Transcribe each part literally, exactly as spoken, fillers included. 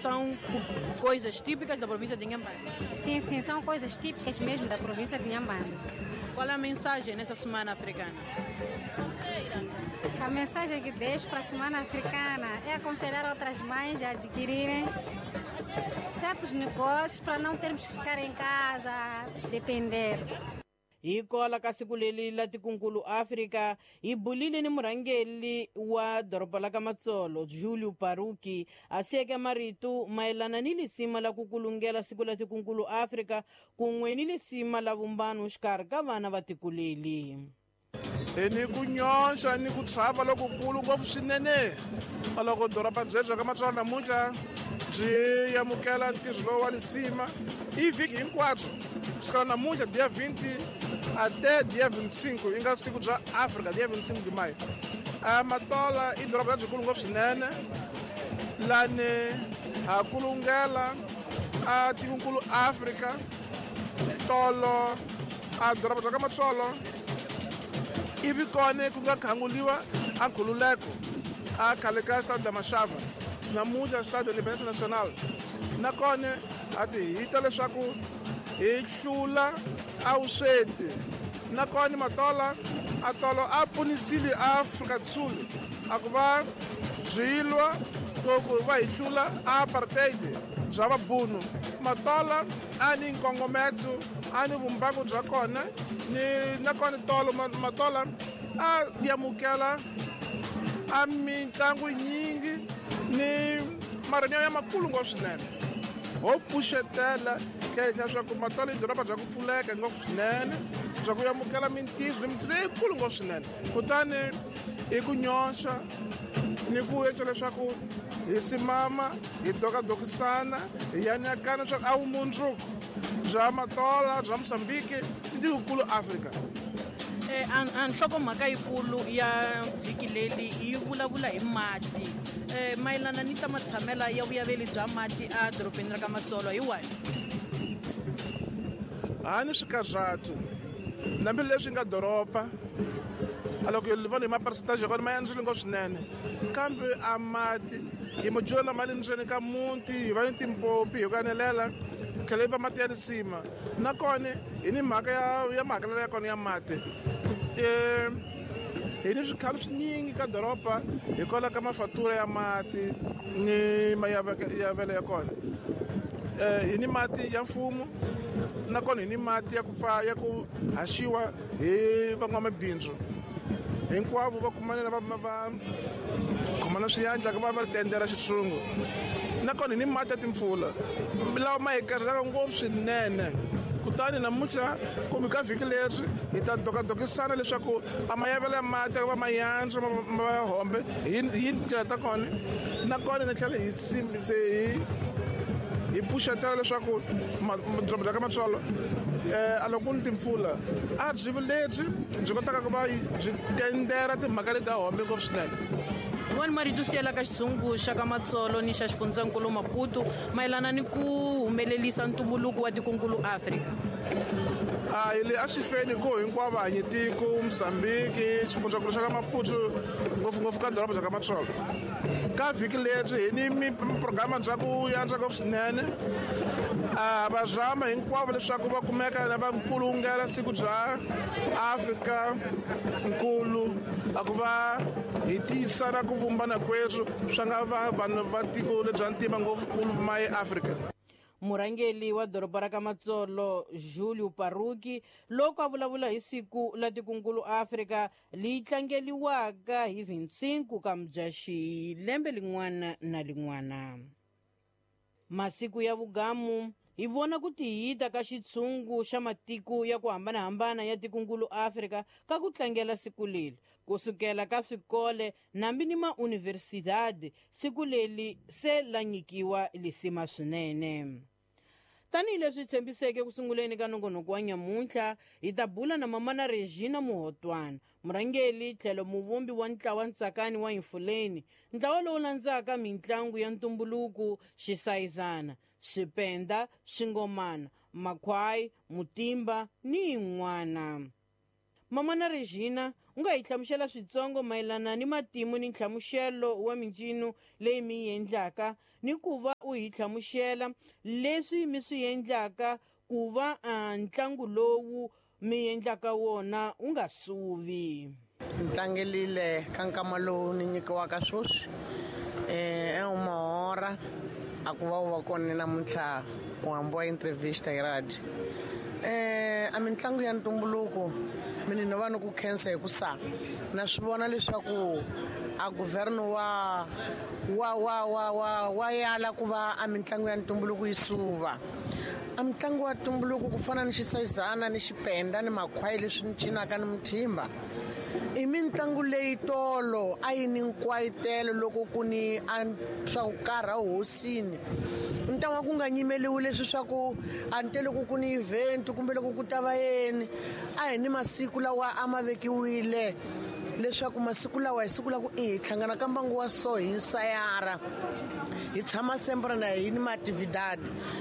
São coisas típicas da província de Inhambane? Sim, sim, são coisas típicas mesmo da província de Inhambane. Qual é a mensagem nessa Semana Africana? A mensagem que deixo para a Semana Africana é aconselhar outras mães a adquirirem certos negócios para não termos que ficar em casa, depender. Hi kola ka siku leri la tikunkulu Afrika, hi bulile ni murhangeri wa doroba la ka Matsolo, Julio Paruki, a siyeke marito mayelana ni lisima la ku kulungela siku la tikunkulu Afrika kun'we ni lisima la vumbano xikarhi ka vana va tiko leri. Hi ni ku nyonxa ni ku tshava lokukulu ngopfu swinene loko doroba byebyo ka Matsolo namuntlha byi amukela ntirho lowu wa lisima i vhiki hinkwabyo kusukela namuntlha dia vinte até dia vinte e cinco yi nga siku bya Afrika dia vinte e cinco de maio. A Matola i doroba lebyikulu ngopfu swinene lani ha kulungela a tikonkulu Afrika tolo a doroba bya ka Matsolo ivi kona ku nga khanguliwa a nkhululeko a khale ka Stade da Machava namuntlha Stade Independência Nacional nakona a ti hita leswaku hi hlula a vusweti nakona Matola a tolo a pfunisile Afrika do Sul a ku va byilwa loko va hi hlula a apartheid bya vabunu. Matola a ni nkongometo a ni vumbangu bya kona ni nakona tolo Matola a amukela a mitlangu yinyingi ni marhenyo ya makulu ngopfu swinene ho pfuxetela tlhela leswaku Matola i doroba bya ku pfuleka ngopfu swinene bya ku amukela mintirho ni mintirho leyikulu ngopfu swinene kutani i ku nyonxa ni ku endla leswaku hi simama hi dokadokisana hi yanyakana leswaku a vumundzuku bya Matola bya Mozambique ni tikukulu Afrika. A nhlokomhaka yikulu ya vhiki leri yi vulavula hi mati mayelana ni ta matshamela ya vuyaveli bya mati a dorobeni ra ka Matsolo hi wahi? A ni swikarhatu hambileswi nga doroba a loko hi vona hi ma-percentage ya kona ma yandzile ngopfu swinene kambe a mati hi madyelo lama le ndzeni ka muti hi va ni timpompi hi ku anelela tlhela yi va mati ya lisima nakona hi ni mhaka ya ya mahakelelo ya kona ya mati hi ni swikhalo swinyingi ka doroba hikwalaho ka mafatura ya mati ni mayavelo ya kona. Hi ni mati ya mfumo nakona hi ni mati ya ku pfa ya ku haxiwa hi van'wamabindzu hinkwavo va kumanela va va khomana swiyandla ku va va tendela xitshungu nakona hi ni mati ya timpfula lawa ma hi karhelaka ngopfu swinene. Kutani namuntlha kumbe ka vhiki leri hi ta dokadokisana leswaku a mayavelo ya mati ya va mayandzwa ma va hombe hi hi tindlela ta kona nakona ni tlhela hi se hi hi pfuxetela leswaku doroba bya ka Matsolo a loko ku ni timpfula a byi lebyi byi kotaka ku va byi tendela timhaka leti ta hombe ngopfu swinene. Yin'wana marito siyela ka xitshungu xa ka Matsolo ni xa xifundzankulu Maputo mayelana ni ku humelerisa ntumbuluko wa tikonkulu Afrika. A hi le a swi feni ku hinkwavo hanyi tiko Mozambique xifundzankulu xa ka Maputo ngopfungopfu ka doroba bya ka Matsolo ka vhiki leri hi ni programa bya ku yandzwa ngopfu swinene a va zama hinkwavo leswaku va kumeka na va nkulungela siku bya Afrika nkulu a ku va hi tiyisana ku vumbana kwethu swa nga va vanhu va tiko lebya ntima ngopfukulu ma eAfrika. Murhangeri wa doroba ra ka Matsolo Julio Paruki loko a vulavula hi siku la tikunkulu Afrika leyi tlangeliwaka hi vinte e cinco ka Mudyaxihi lembe lin'wana na lin'wana. Masiku ya vugamu hi vona ku tihita ka xitshungu xa matiko ya ku hambanahambana ya tikunkulu Afrika ka ku tlangela siku leri kusukela ka swikole nambi ni mauniversidade siku leri se la nyikiwa lisima swinene. Tanihileswi tshembiseke ku sunguleni ka nongonoko wa nyamuntlha hi ta bula na mamana Regina Muhotwana murhangeri tlhelo muvumbi wa ntlawa Ntsakani wa Infuleni ntlawa lowu landzaka mitlangu ya ntumbuluko xisayizana xipenda xingomana makhwai mutimba ni yin'wana. Mamana Regina, u nga hi hlamusela switsongo mayelana ni matimu ni nhlamuselo wa mincino leyi mi yi endlaka, ni ku va u hi hlamusela leswi mi swi endlaka ku va ntlangu lowu mi endlaka wona u nga suvi. Ntlangelile ka nkama lowu ni nyikiwaka sweswi eh e uma hora a ku va u va kona namuntlha u hambiwa entrevista hi radio. Eh a mitlangu ya ntumbuluko mina no va ni ku khensa hi ku sa na swi vona leswaku a governo wa wa wa wa wa wa yala ku va a mitlangu ya ntumbuluko yi suva. A mitlangu wa ntumbuluko ku fana ni xisayizana ni xipenda ni makhwayi leswi ni cinaka ni muthimba i mitlangu leyi tolo a yi ni nkwayitelo loko ku ni swa ku karha hosini. Ntangwa ku nga nyimeliwi leswi swa ku a ni te loko ku ni event kumbe loko ku ta va yeni, a hi ni masiku lawa a ma vekiwile leswaku masiku lawa hi siku la ku i hi hlangana ka mbangu wa so hi nsayara hi tshama sempre na hi ni maatividad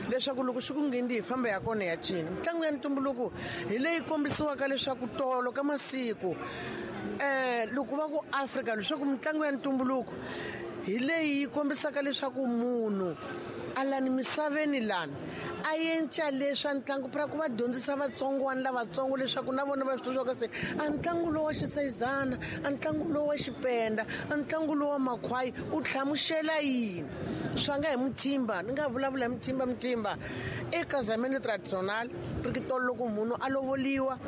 leswaku loko xi ku ngheni hi famba ya kona ya cina. Mitlangu ya ntumbuluko hi leyi kombisiwaka leswaku tolo ka masiku eh loko va ku Afrika leswaku mitlangu ya ntumbuluko hi leyi yi kombisaka leswaku munhu alani misaveni lani a yenca leswa ntlangu pra ku va dyondzisa vatsongwana lavatsongo leswaku na vona va swi tiva se a ntlangu lowu wa xisayizana, a ntlangu lowu wa xipenda, a ntlangu lowu wa makhwayi u hlamusela yini. Swa nga hi muthimba ni nga vulavula hi muthimba muthimba e casamento tradicional ri ki tolo loko munhu a lovoliwa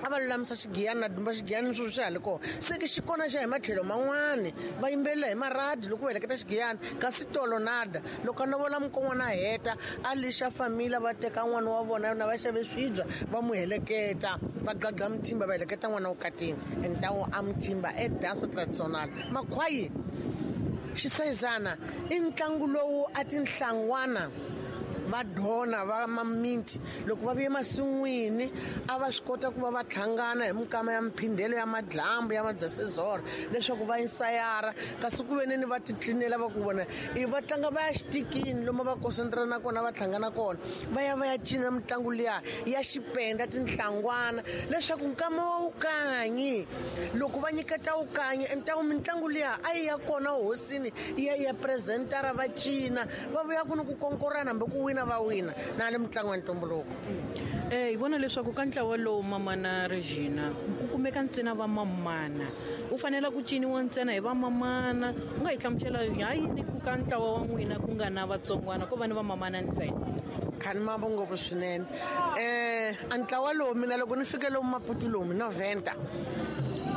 a va lulamisa xigiyani na dumba xigiyani swo swi ha le kona se ke xi kona xa hi matlhelo man'wani va yimbelela hi maradi loko va heleketa xigiyani kasi tolo nada loko a lovola mukon'wana a heta a lixa famila va teka n'wana wa vona na va xave swibya va n'wi heleketa va gaga muthimba va heleketa n'wana wukatini entawo a muthimba e dansa tradicional. Makhwayi xisayizana i ntlangu lowu a tinhlangwana va dona va maminti loko va vuye masin'wini a va swi kota ku va va hlangana hi minkama ya miphindelo ya madlambu ya madzasezora leswaku va insayara kasi ku veneni va titlinela va ku vona i va tlanga va ya xitikini lomu va concentrana na kona va hlangana kona va ya va ya cina mitlangu liya ya xipenda tinhlangwana leswaku nkama wa wukanyi loko va nyiketa wukanyi entawu mitlangu liya a yi ya kona hosini yi ya ya presentara va cina va vuya ku ni ku konkorana hambi ku wina va wina na le mitlangu ya ntumbuluko. Eh hi vona leswaku ka ntlawa lowu Mamana Regina ku kumeka ntsena va mamana u fanele ku ciniwa ntsena hi va mamana. U nga hi hlamusela ha yini ku ka ntlawa wa n'wina ku nga na vatsongwana ko va ni va mamana ntsena? Khani mambo ngopfu swinene. Eh a ntlawa lowu mina loko ni fike lomu Maputo lomu noventa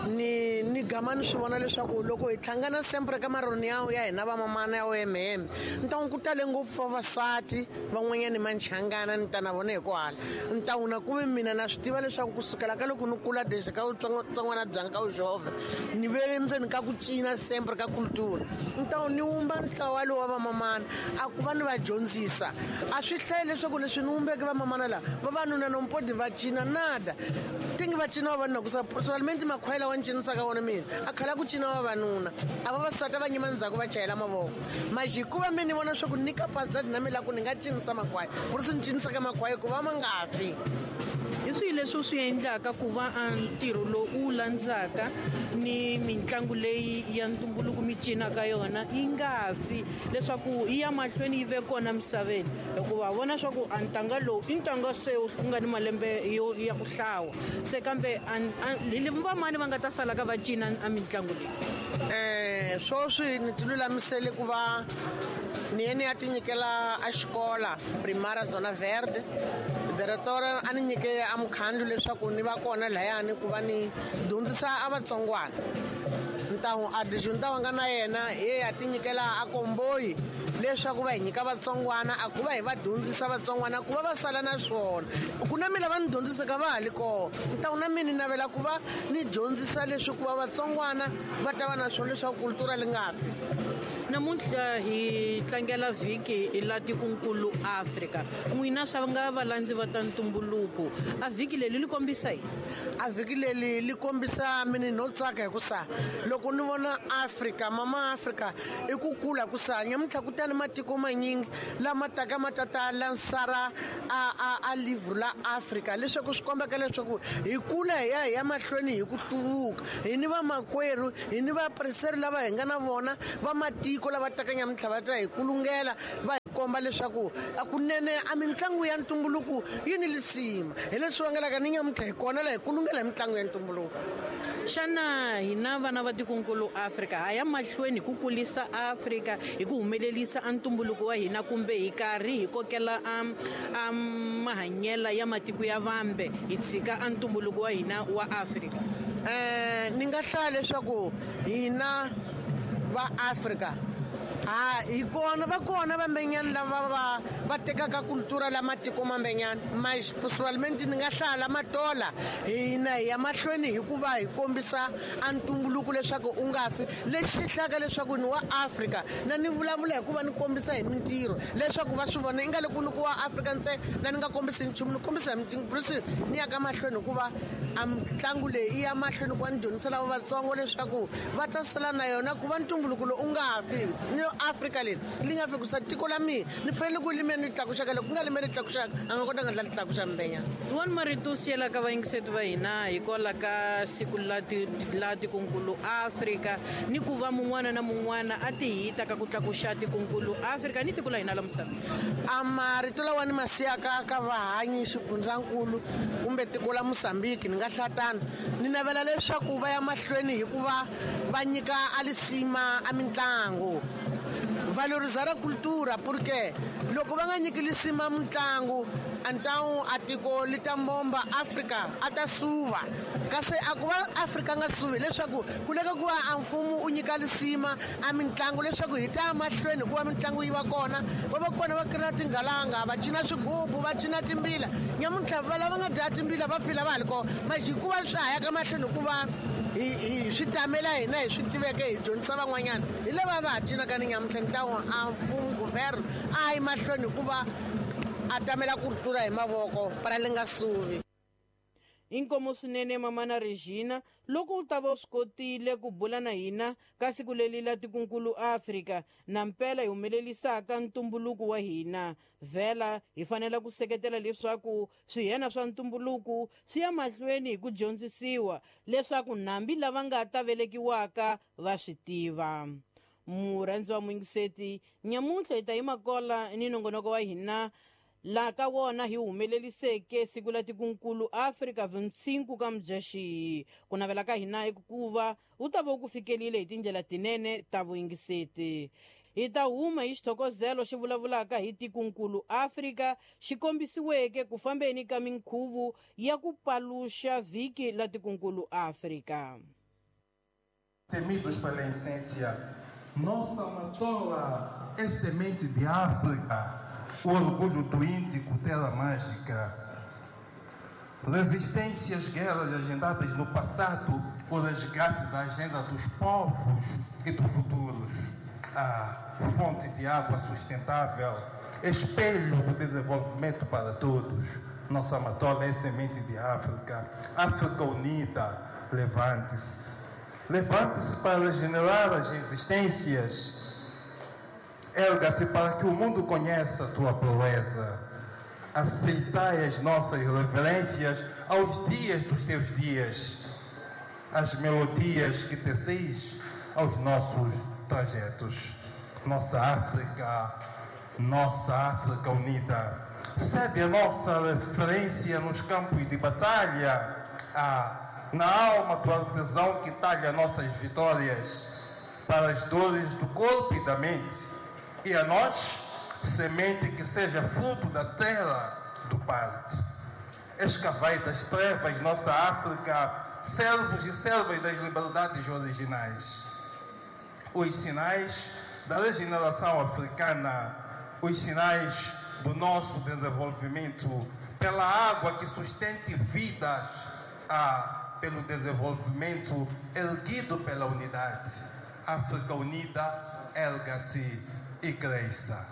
ni ni gama ni swi vona leswaku loko hi hlangana sempre ka maroni ya ya hina va mamana ya O M M ntawu ku tale ngopfu vavasati van'wanyani manchangana ni ta na vona hi ku hala ntawu na ku ve mina na swi tiva leswaku kusukela ka loko ni kula desde ka vutsongwana byanga ka vujove ni ve ndzeni ka ku cina sempre ka cultura ntawu ni wumba ntlawa lowu wa vamamana a ku va ni va dyondzisa a swi hlayi leswaku leswi ni wumbeke vamamana lava vavanuna nompodi va cina nada tingi va cina vavanuna ku solamente makhwayela wa cinisaka wona mina a khala ku cina vavanuna a vavasati va nyima ndzhaku va chayela mavoko maji hikuva mi ni vona swa ku ni capacity na mina ku ni nga cinisa makhwaya ku ri swi ni cinisaka makhwaya ku va ma nga fi. Hi swihi leswi u swi endlaka ku va a ntirho lowu u landzaka ni mitlangu leyi ya ntumbuluko mi cinaka yona yi nga fi leswaku yi ya mahlweni yi ve kona misaveni, hikuva vona swa ku a ntanga lowu i ntanga se wu nga ni malembe yo ya ku hlawa se kambe vamani va nga ta sala ka va cina a mitlangu leyi? Eh sweswi ni ti lulamisele ku va ni ye ni ya ti nyikela a xikola Primara Zona Verde director a ni nyike a mukhandlu leswaku ni va kona lahayani ku va ni dyondzisa a vatsongwana ntawu a dijunta wa nga na yena hi ya ti nyikela a komboyi leswaku va hi nyika vatsongwana a ku va hi va dyondzisa vatsongwana ku va va sala na swona ku na mina va ni dyondzisaka va ha li kona ntawu na mina ni navela ku va ni dyondzisa leswi ku va vatsongwana va ta va na swona leswaku kultura li nga fi. Namuntlha hi tlangela vhiki la tikunkulu Afrika. N'wina swa nga valandzi va ta ntumbuluko, a vhiki leri li kombisa yini? A vhiki leri li kombisa mina no tsaka hi ku sa loko ni vona Afrika, mama Afrika i ku kula ku sa nyamuntlha ku tani matiko manyingi lama taka ma tata lansara a a a livre la Afrika, leswaku swi kombeka leswaku hi kula hi ya hi ya mahlweni hi ku hluvuka. Hi ni vamakwerhu, hi ni vapreseri lava hi nga na vona va matiko lava taka nyamuntlha va ta hi kulungela va hi komba leswaku a kunene a mitlangu ya ntumbuluko yi ni lisima. Hi leswi vangelaka ni nyamuntlha hi kona la hi kulungela hi mitlangu ya ntumbuluko. Xana hina vana va tikunkulu Afrika ha ya mahlweni ku kulisa Afrika hi ku humelerisa a ntumbuluko wa hina, kumbe hi karhi hi kokela a a mahanyela ya matiko ya vambe hi tshika a ntumbuluko wa hina wa Afrika? Eh, ni nga hlaya leswaku hina va Afrika ha hi kona va kona vambenyani lava va va tekaka kultura la matiko mambenyana, mas principalmente ni nga hlaya la matola. Hina hi ya mahlweni hikuva hi kombisa a ntumbuluko leswaku u nga fi. Lexi hlaka leswaku ni wa Afrika na ni vulavula hikuva ni kombisa hi mintirho leswaku va swi vona i nga le ku ni ku wa Afrika ntsena, na ni nga kombisi nchumu, ni kombisa hi mintirho ni ya ka mahlweni hikuva a mitlangu leyi i ya mahlweni ku va ni dyondzisa lava vatsongo leswaku va ta sala na yona ku va ntumbuluko lowu u nga fi. Ni Afrika leri li nga fi ku sa tiko la mina ni fanele ku lime ni tlakuxaka, loko ku nga lime ni tlakuxaka a nga kota nga ndla li tlakuxa mbenya. Wani marito siyela ka vayingiseti va hina hikwalaho ka siku la ti la tikunkulu Afrika, ni ku va mun'wana na mun'wana a ti hita ka ku tlakuxa tikunkulu Afrika ni tiko la hina la misava? A marito lawa ni ma siyaka ka vahanyi xifundzankulu kumbe tiko la Mozambique ni nga hlatana, ni navela leswaku va ya mahlweni hikuva va nyika a lisima a mitlangu, valorizar a cultura, porque loko va nga nyiki lisima mitlangu então a tiko li ta mbomba Afrika a ta suva. Kasi a ku va Afrika nga suvi leswaku ku leka ku va a mfumo u nyika lisima a mitlangu leswaku hi ta mahlweni hikuva mitlangu yi va kona, va va kona va kira tingalanga, va cina swigubu, va cina timbila. Nyamuntlha va lava nga dya timbila va fila va ha li kona, mas hikuva swa ha ya ka mahlweni hikuva hi hi swi tamela hina hi swi tiveke hi dyondzisa van'wanyana hi lava va ha cinaka ni nyamuntlha. Ni ta a mfumo guvernor a yi mahlweni hikuva a tamela kultura hi mavoko para li nga suvi. Inkomo swinene mamana Regina, loko u ta va u swi kotile ku bula na hina ka siku leri la tikunkulu Afrika na mpela hi humelelisaka ntumbuluko wa hina. Vhela hi fanele ku seketela leswaku swihena swa ntumbuluko swi ya mahlweni hi ku dyondzisiwa leswaku nambi lava nga ta velekiwaka va swi tiva. Murhandzi wa muyingiseti, nyamuntlha hi ta yima kola ni nongonoko wa hina la ka wona hi humeleliseke siku la tikunkulu Afrika vintsinku ka Mudyaxihi. Ku navela ka hina i ku va u ta va u ku fikelile hi tindlela tinene ta vuyingiseti. Hi ta huma hi xithokozelo xi vulavulaka hi tikunkulu Afrika xi kombisiweke ku fambeni ka minkhuvo ya ku paluxa vhiki la tikunkulu Afrika. Temidos pela essência, nossa matola é semente de África, o orgulho do Índico, terra mágica. Resistência às guerras agendadas no passado, o resgate da agenda dos povos e dos futuros. A fonte de água sustentável, espelho do desenvolvimento para todos. Nossa matola é semente de África. África unida, levante-se. Levante-se para regenerar as resistências. Erga-te para que o mundo conheça a tua proeza. Aceitai as nossas reverências aos dias dos teus dias, as melodias que teceis aos nossos trajetos. Nossa África, nossa África unida, cede a nossa referência nos campos de batalha, ah, na alma do artesão que talha nossas vitórias, para as dores do corpo e da mente. E a nós, semente que seja fruto da terra do parto. Escavai das trevas nossa África, servos e servas das liberdades originais. Os sinais da regeneração africana, os sinais do nosso desenvolvimento, pela água que sustente vidas, ah, pelo desenvolvimento erguido pela unidade. África unida, Erga-te e cresça.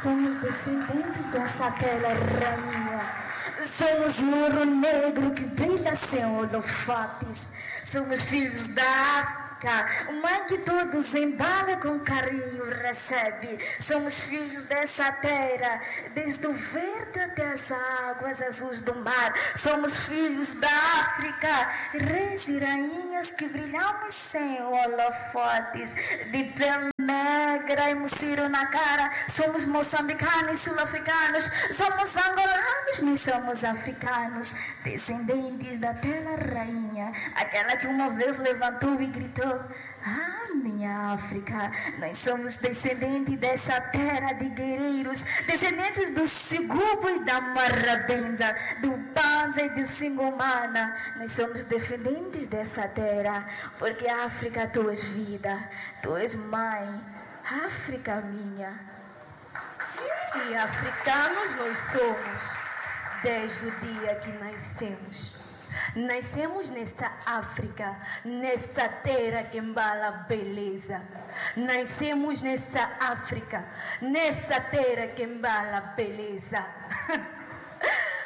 Somos descendentes dessa terra rainha. Somos o ouro negro que brilha sem holofotes. Somos filhos da África, mãe que todos embala com carinho recebe. Somos filhos dessa terra, desde o verde até as águas azuis do mar. Somos filhos da África, reis e rainhas que brilhamos sem holofotes. De pele negra e mociro na cara, somos moçambicanos, sul-africanos, somos angolanos, mas somos africanos, descendentes da terra rainha, aquela que uma vez levantou e gritou: ah, minha África, nós somos descendentes dessa terra de guerreiros, descendentes do Sigubo e da Marrabenza, do Panza e do Singomana. Nós somos descendentes dessa terra, porque África, tu és vida, tu és mãe, África minha. E africanos nós somos, desde o dia que nascemos. Nascemos nessa África, nessa terra que embala a beleza. Nascemos nessa África, nessa terra que embala a beleza.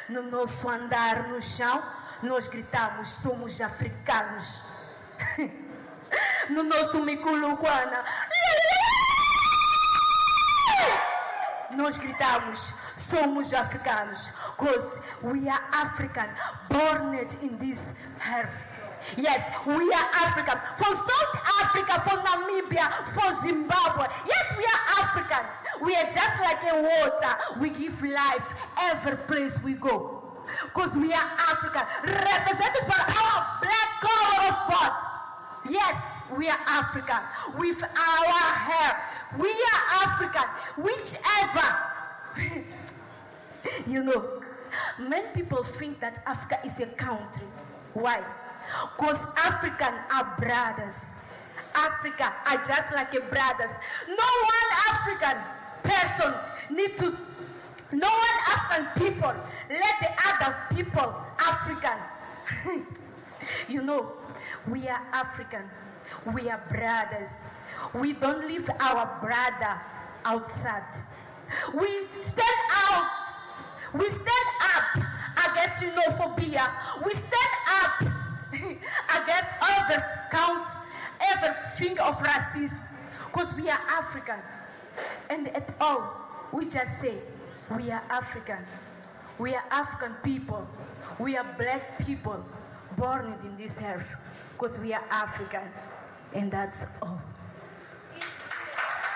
No nosso andar no chão, nós gritamos, somos africanos. No nosso Mikuluquana, nós gritamos, somos africanos, because we are African, born in this earth. Yes, we are African. For South Africa, for Namibia, for Zimbabwe. Yes, we are African. We are just like a water. We give life every place we go. Because we are African, represented by our black color of blood. Yes, we are African. With our hair. We are African. Whichever. You know, many people think that Africa is a country. Why? Because African are brothers. Africa are just like a brothers. No one African person need to, no one African people let the other people African. You know, we are African. We are brothers. We don't leave our brother outside. We stand out. We stand up against xenophobia. We stand up against every count, everything of racism, because we are African. And at all, we just say, we are African. We are African people. We are black people born in this earth, because we are African. And that's all.